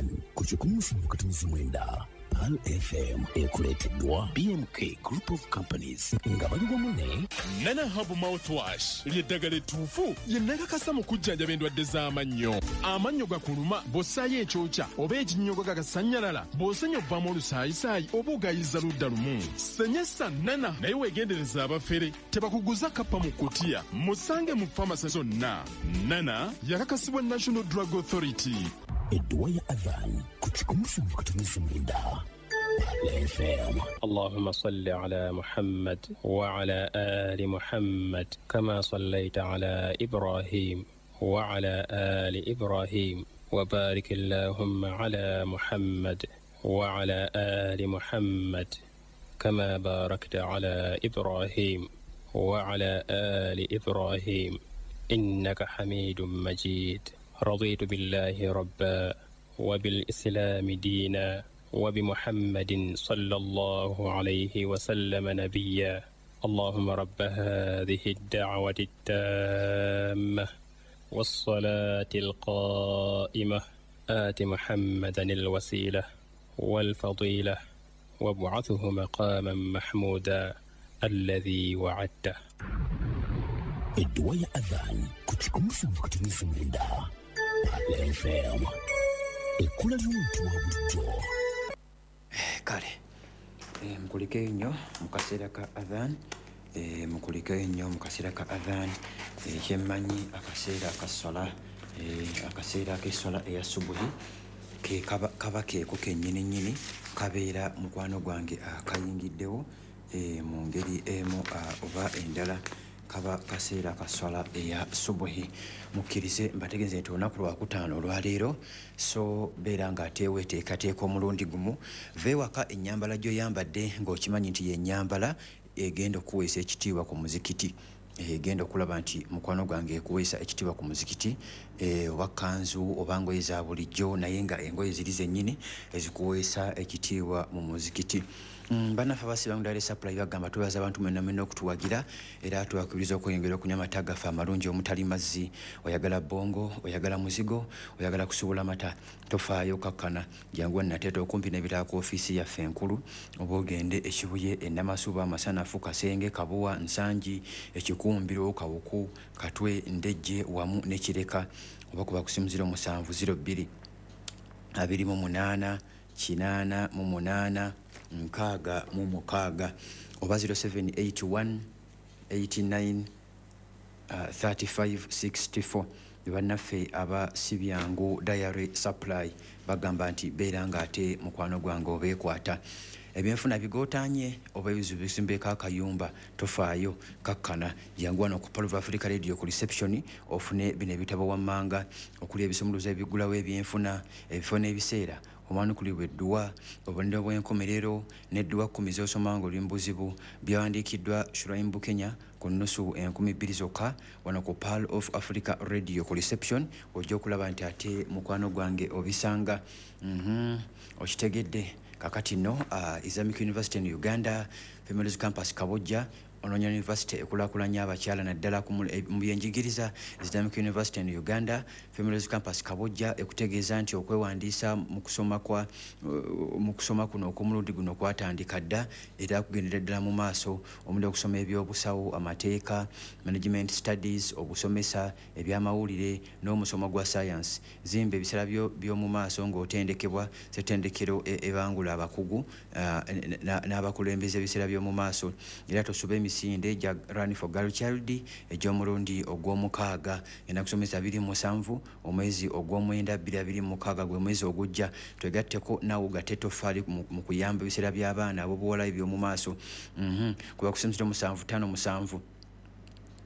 Adhan ku 107.9 Pearl FM ekuleeteddwa BMK Group of Companies nga bali wamu ne Nana Herbal Mouthwash ly'eddagala ettuufu lye nakakasa mu kujjanjaba endwadde z'amannyo. Amannyo gakuluma bw'ossaayo ekyokya oba ekinnyogo gagasannyalala, bw'osenya ovaamu olusaayisaayi oba ogayiza ludda lumu. Senyesa Nana naye weegendereza abafere tebakuguza kappa mu kutiya. Musange mu famasi zonna. Nana yakakasibwa National Drug Authority. Edduwa ya Adhan ku 107.9 Pearl FM. اللهم صل على محمد وعلى آل محمد كما صليت على إبراهيم وعلى آل إبراهيم وبارك اللهم على محمد وعلى آل محمد كما باركت على إبراهيم وعلى آل إبراهيم إنك حميد مجيد. رضيت بالله ربا وبالإسلام دينا وبمحمد صلى الله عليه وسلم نبيا. اللهم رب هذه الدعوة التامة والصلاة القائمة آت محمدا الوسيلة والفضيلة وابعثه مقاما محمودا الذي وعدته. Edduwa ya Adhan ku 107.9 Pearl FM, ekkula ly'omuntu wa bulijjo. Kale mukulikeyo nnyo mu kaseera ka adhan, mukulikeyo nnyo mu kaseera ka adhan. Kyemmanyi akaseera ka sola, akaseera k'essola eya subuhi ke kaba, kaba keeko kennyini nnyini kabeera mukwano gwange akayingiddewo mu ngeri emu oba endala, kaba kaseera ka sola eya subuhi. Mukkirize mbategeeze nti olunaku lwakutaano olwaleero, so beera ng'ate weeteekateeka omulundi gumu va ewaka ennyambala gy'oyambadde ng'okimanyi nti yennyambala egenda okuweesa ekitiibwa ku muzikiti, egenda okulaba nti mukwano gwange ekuweesa ekitiibwa ku muzikiti, oba kanzu oba ngoye za bulijjo, naye nga engoye ziri zennyini ezikuweesa ekitiibwa mu muzikiti. Bannaffe abasiba Dairy Supply bagamba twebaza abantu mwenna mwenna okutuwagira, era tubakubiriza okweyongera okunywa amata gaffe amalungi omutali mazzi. Oyagala bongo, oyagala muzigo, oyagala kusuubula mata, tofaayo, kakkana, jangu Nateete okumpi n'ebirala ku ofiisi yaffe enkulu, oba ogende Ekibuye, Enamasuba, Amasanafu, Kasenge, Kabuwa, Nsangi, Ekikumbiro, Kawuku, Katwe, Ndejje wamu ne Kireka, oba kuba ku simu 07 02 28 88 66 oba 0781 89 35 64. Bannaffe aba Sibyangu Dairy Supply bagamba nti beera ng'ate mukwano gwange obeekwata. Ebyenfuna bigootanye oba ebizibu bisimbeeko akayumba, tofaayo, kakkana, jangu wano ku Pearl of Africa Radio ku reception ofune bino ebitabo wammanga okuli ebisumuluzo ebigulawo ebyenfuna, ebifo n'ebiseera omwanukulibwa edduwa, obubonero bw'enkomerero n'edduwa 10 z'osoma ng'oli mu buzibu, byawandiikiddwa Shuraim Bukenya ku nnusu 2000 zokka wano ku Pearl of Africa Radio ku reception. Ojja okulaba nti ate mukwano gwange obisanga. Okitegedde? Kakati nno Islamic University in Uganda Females Campus Kabojja, onoonya university ekulaakulanya abakyala naddala mu byenjigiriza, Islamic University in Uganda Females Campus Kabojja ekutegeeza nti okwewandiisa mu kusoma kwa mu kusoma kuno okw'omulundi guno kwatandika dda era kugendera ddala mu maaso, omuli okusoma ebyobusawo, amateeka, management studies, obusomesa, ebyamawulire n'omusomo gwa science. Zimba ebiseera by'omu maaso ng'otendekebwa ssettendekero ebangula abakugu n'abakulembeze ebiseera by'omu maaso. Era tosuba emisinde gya Run for Girl Child egy'omulundi ogw'omukaaga ngenda kusomesa 27 omwezi ogw'omwenda 2026, gwe mwezi ogujja. Twegatteko naawe gatte ettoffaali mu kuyamba ebiseera by'abaana ab'obuwala eby'omu maaso. Kuba ku 0757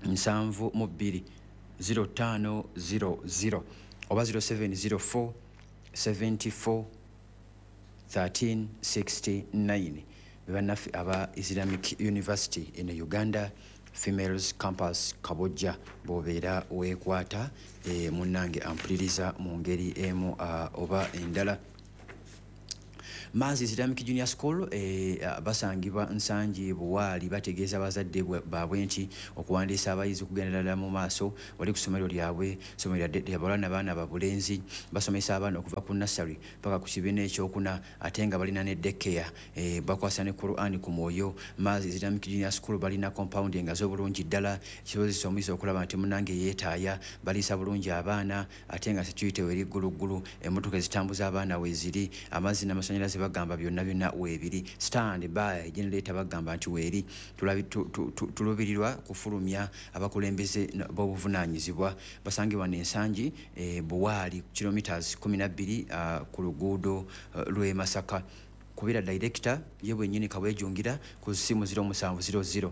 72 0500 oba 0704 74 1369. Bannaffe aba Islamic University in Uganda Females Campus Kabojja bw'obeera weekwata, munnange ampuliriza mu ngeri emu oba endala. Maazi Islamic Junior School basangibwa Nsangi Buwaali, bategeeza abazadde baabwe nti okuwandiisa abayizi okugenda ddala mu maaso wali ku ssomero lyabwe. Ssomero lyabawala n'abaana babulenzi, basomesa abaana okuva ku nursery paka ku kibiina ekyokuna, ate nga balina ne daycare, bakwasa ne Quran ku mwoyo. Maazi Islamic Junior School balina compound engazi obulungi ddala, kisobozesa omuyizi okulaba nti munange yeetaaya. Baliisa bulungi abaana, ate nga security weri gguluggulu, emmotoka ezitambuza abaana weeziri, amazzi n'amasannyalaze bagamba byonna byonna weebiri, stand by generator bagamba nti weeri. Tulubirirwa kufulumya abakulembeze b'obuvunaanyizibwa. Basangibwa n'Ensangi Buwaali, kilometers 12 ku luguudo lw'e Masaka. Kubira director ye bwennyini Kaweejungira ku ssimu 0700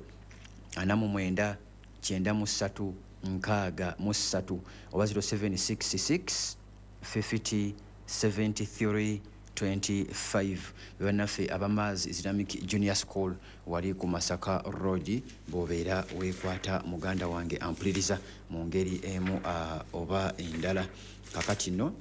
49 93 63 oba 0766 50 73 25. Bannaffe abamaazi Islamic Junior School wali ku Masaka Road, bw'obeera weekwata muganda wange ampuliriza mu ngeri emu oba endala. Kakati nno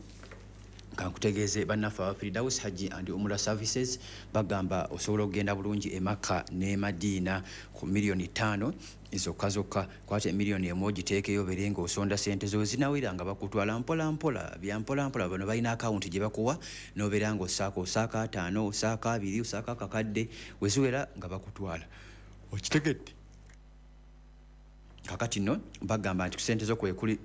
kankutegeeze, bannaffe aba Firdaus Hajji and Umrah Services bagamba osobola okugenda bulungi e Makka ne Madiina ku miliyoni 5 zokka zokka. Kwata emiliyoni 1 ogiteekeyo, obeere nga osonda sente zo, zinawera nga bakutwala mpola mpola, bya mpola mpola. Bano balina akawunti gye bakuwa n'obeera nga osaako, osaako 50, osaako 20, osaako akakadde, weziwera nga bakutwala. Okitegedde? Kakati nno bagamba nti ku sente zo kwekuli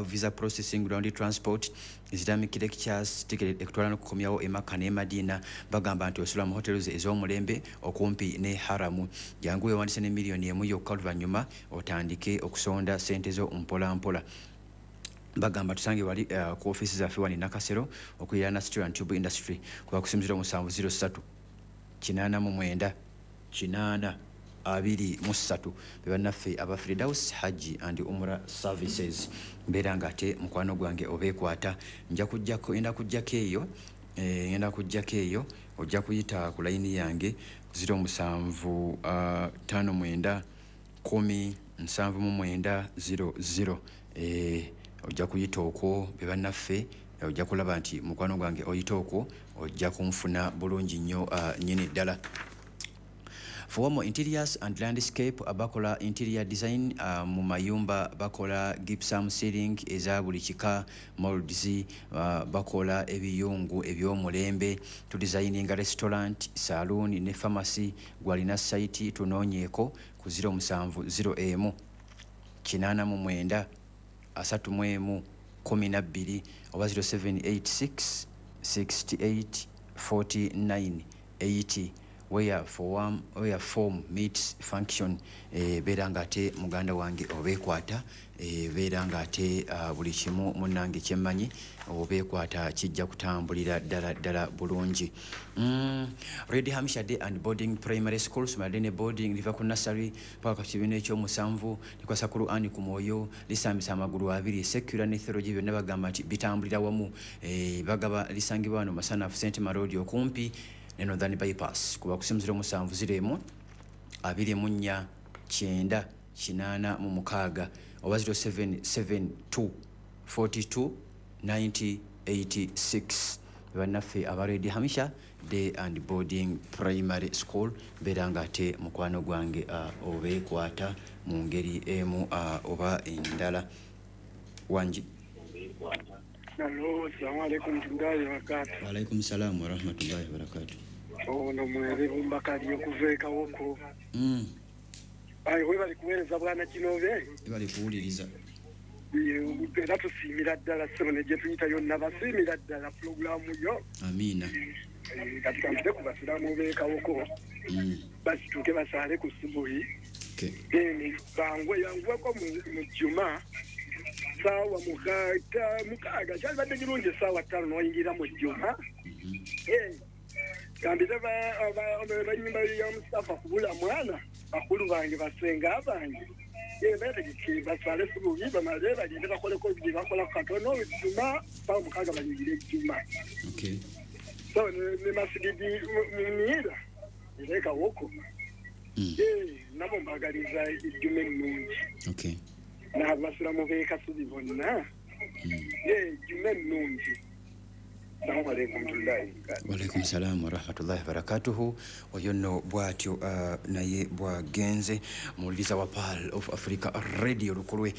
visa processing, ground transport, Islamic lectures, ticket ekutwala n'okukomyawo e Makka ne Madina. Bagamba nti osula mu hotels ez'omulembe okumpi ne haramu. Jangu wewandise ne miliyoni 1 yokka, oluvannyuma otandike okusonda sente zo mpola mpola. Bagamba tusange wali ku ofiisi zaffe wano Nakasero okuliraana Steel and Tube Industry, kuba ku simu 0703 89 8 23. Be bannaffe aba Firdaus Hajji and Umrah Services. Mbeera nga ate mukwano gwange obeekwata, nja kujjako, ngenda kujjako eyo, ngenda kujjako eyo. Ojja kuyita ku layini yange 07 59 10 79 00. Ojja kuyita okwo, be bannaffe. Ojja kulaba nti mukwano gwange oyita okwo, ojja kunfuna bulungi nnyo nnyini ddala. Fomo Interiors and Landscape abakola interior design mu mayumba, bakola gypsum ceiling eza buli kika, molds, bakola ebiyungu eby'omulembe, tudesigninga restaurant, saloon ne pharmacy. Gwalina site, tunoonyeeko ku 0701 89 31 12 oba 0786 68 49 80. Where form meets function. Beera nga ate muganda wange obeekwata, beera nga ate buli kimu munnange kyemmanyi obeekwata kijja kutambulira ddala ddala bulungi. Red Hampshire Day and Boarding Primary School, somero ne boarding, liva ku nursery paka ku kibiina ekyomusanvu, likwasa Qur'ani ku mwoyo, lisambisa amagulu abiri, secular ne theology byonna bagamba nti bitambulira wamu. Bagaba lisangibwa wano Masanafu St Marodi okumpi ne Northern Bypass, kuba ku simu 0701 24 9 86 oba 0772 42 90 86. Bannaffe aba Red Hampshire Day and Boarding Primary School, beera nga ate mukwano gwange obeekwata mu ngeri emu oba endala. Wangi? Alo, salamu alaikum warahmatullahi wabarakatuh. Waalaikum salaamu warahmatullahi wabarakatuh. Ono mwere Bumbakali okuva e Kawoko. Ayi, webali kuweereza bwana Kinobe. Bali kuwuliriza. Era tusiimira ddala ssebo ne gye tuyita yonna, basiimira ddala pulogulaamu yo. Amiina. Kati kampite ku basiraamu b'e Kawoko basituke basaale ku subuhi. Then bangwe yanguweko mu juma saawa 6, kyalibadde kirungi essaawa 5 n'oyingira mu juma. Gambire banyumba ya Mustafa kubula mwana, bakulu bange, basenga bange, betegeke basale subuhi, bamale bagende bakoleko bye bakola katono juma saawa 6, bayingire ejjuma. So ne masigidi munira era Kawoko, nabo mbagaliza ejjuma ennungi. N'abasiramu b'e Kasubi bonna, ejjuma ennungi. Assalamu alaikum warahmatullahi wabarakatuh. Walaikum salam warahmatullahi wabarakatuhu. Oyo nno bw'atyo naye bwagenze muwuliriza wa Pearl of Africa Radio Lukulwe.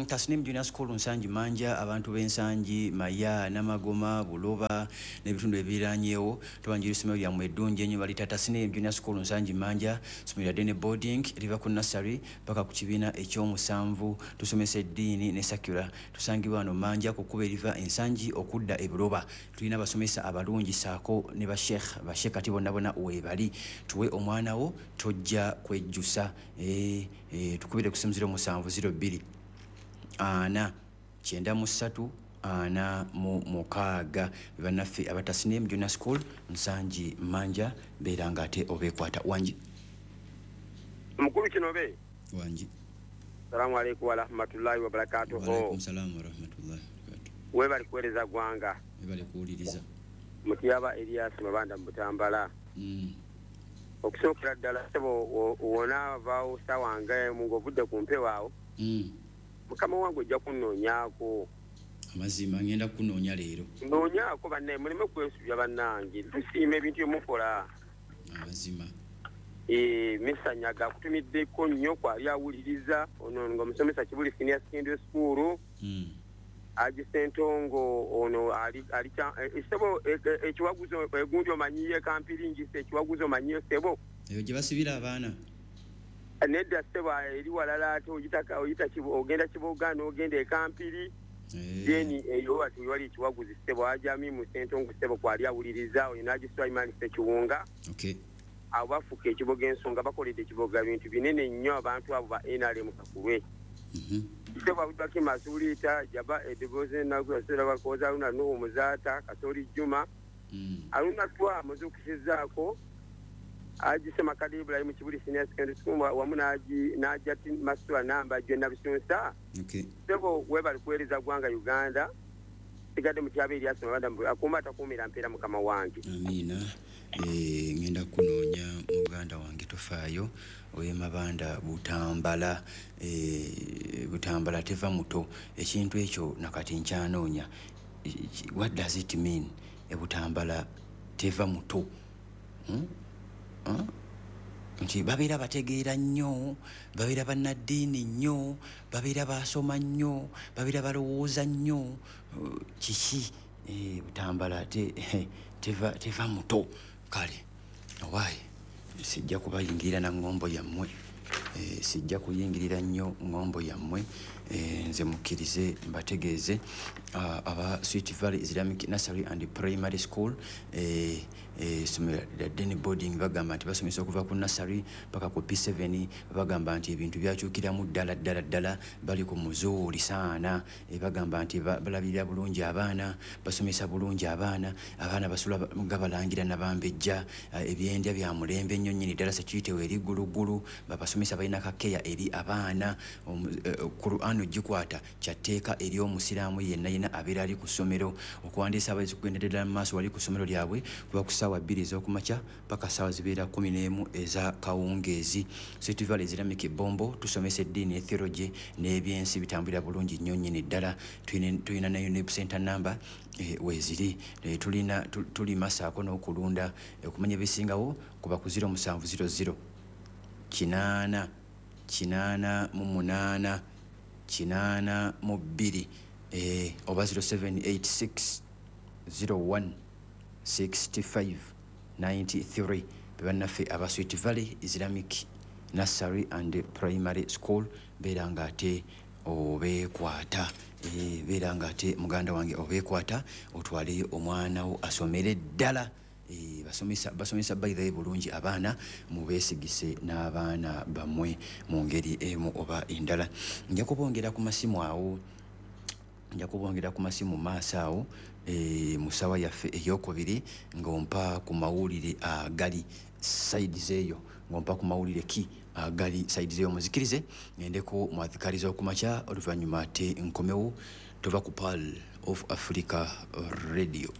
Tasnim Junior School Nsangi Manja, abantu b'Ensangi, Maya, Namagoma, Buloba n'ebitundu ebiriranyeewo tubanjira essomero lyammwe eddungi ennyo balita Tasnim Junior School Nsangi Manja, ssomero lya day boarding liva ku nursery paka ku kibiina ekyomusanvu. Tusomesa eddiini ne secular. Tusangibwa wano Manja ku kkubo eriva Ensangi okudda e Buloba. Tulina abasomesa abalungi saako ne basheikh, basheikh kati bonna bonna weebali. Tuwe omwana wo tojja kwejjusa. Tukubire ku simu 0702 4 93 46. Bannaffe aba Tasnim Junior School Nsangi Manja, beera nga ate obeekwata. Wangi mukulu Kinobe. Wangi. Assalamu alaikum warahmatullahi wabarakatuh. Walaikum salam warahmatullahi wabarakatuh. Webali kuweereza gwanga. Webali kuwuliriza. Mutiyaba Elias Mabanda Mutambala. Okusookera ddala ssebo wona vaawo ssaawa nga emu ng'ovudde ku mpewo awo. Mukama wange ojja kunnoonyaako. Amazima ngenda kunoonya leero. Nnoonyaako bannaye muleme kwesubya bannange. Tusiima ebintu bye mukola. Amazima. Misanyaga akutumiddeko nnyo kwali awuliriza ono ng'omusomesa Kibuli Senior Secondary School. Aji Sentongo ono ali ssebo ekiwaguzo egundi omanyiye kampiringisa ekiwaguzo omanyiye ssebo. Eyo gye basibira abaana. Nedda ssebo eri walala ate oyita ogenda Kiboga n'ogenda e Kampiri. Then eyo wati wali ekiwaguzi ssebo ajami mu Sentongo ssebo kwali awuliriza oyo n'Aji Sulaiman Ssekiwunga. Okay. Abo bafuka ekiboga ensonga bakoledde ekiboga bintu binene nnyo abantu abo ba NRM Kakulwe. Ssebo Abubakar Masuulita Jaba Edeboze Nagwasera Bakoza Aruna Nuhu Muzaata Kasoli Juma. Aruna Twa muzukisizaako Aji Ssemakadde Ibrahim Kibuli Senior Secondary School wamu n'Ajati Masula Namba Jonna Bisunsa. Okay. Ssebo webali kuweereza ggwanga Uganda. Sigadde Mutyaba Erias Mabanda akuuma atakuumira mpeera mukama wange. Amiina. Ngenda kunoonya muganda wange tofaayo oye Mabanda Butambala. Butambala teva muto. Ekintu ekyo nakati nkyanoonya. What does it mean? Butambala teva muto. Nti babeera bategeera nnyo, babeera bannaddiini nnyo, babeera basoma nnyo, babeera balowooza nnyo. Kiki? Butambala teva muto. Kale owaaye sijja kubayingirira na ngombo yammwe. Sijja kuyingirira nnyo ngombo yammwe. Nze mukkirize mbategeeze aba Sweet Valley Islamic Nursery and Primary School, essomero lya day boarding, bagamba nti basomesa okuva ku nursery paka ku P7. Bagamba nti ebintu byakyukiramu ddala ddala ddala, bali ku muzuuli saana. Bagamba nti balabirira bulungi abaana, basomesa bulungi abaana, abaana basula nga balangira nabambejja, ebyendya bya mulembe nnyo nnyini ddala sekiyitewo eri gguluggulu. Babasomesa balina kakeya eri abaana. Qur'an ogikwata kyatteeka eri omusiraamu yenna yenna abeera ali ku ssomero. Okuwandiisa abayizi kugenda ddala mu maaso wali ku ssomero lyabwe kuba ku ssaawa 2 ez'okumakya paka ssaawa zibeera 11 eza kawungeezi. Sweet Valley Islamic Bombo tusomesa eddiini ne theology n'ebyensi bitambulira bulungi nnyo nnyini ddala. Tulina ne UNEP center number weeziri. Tulina tulima saako n'okulunda. Okumanya ebisingawo kuba ku 0700 8 8 8 82 oba 0786 01 65 93. Bannaffe aba Sweet Valley Islamic Nursery and Primary School, beera nga ate obeekwata. Beera nga ate muganda wange obeekwata otwaleyo omwana wo asomere ddala. Basomesa by the way bulungi abaana, mubeesigise n'abaana bammwe mu ngeri emu oba endala. Nja kubongera ku masimu awo, nja kubongera ku masimu maaso awo mu ssaawa yaffe eyokubiri ng'ompa ku mawulire agali sides eyo, ng'ompa ku mawulire ki agali sides eyo. Muzikirize ngendeko mu adhikari z'okumakya, oluvannyuma ate nkomewo. Tova ku Pearl of Africa Radio.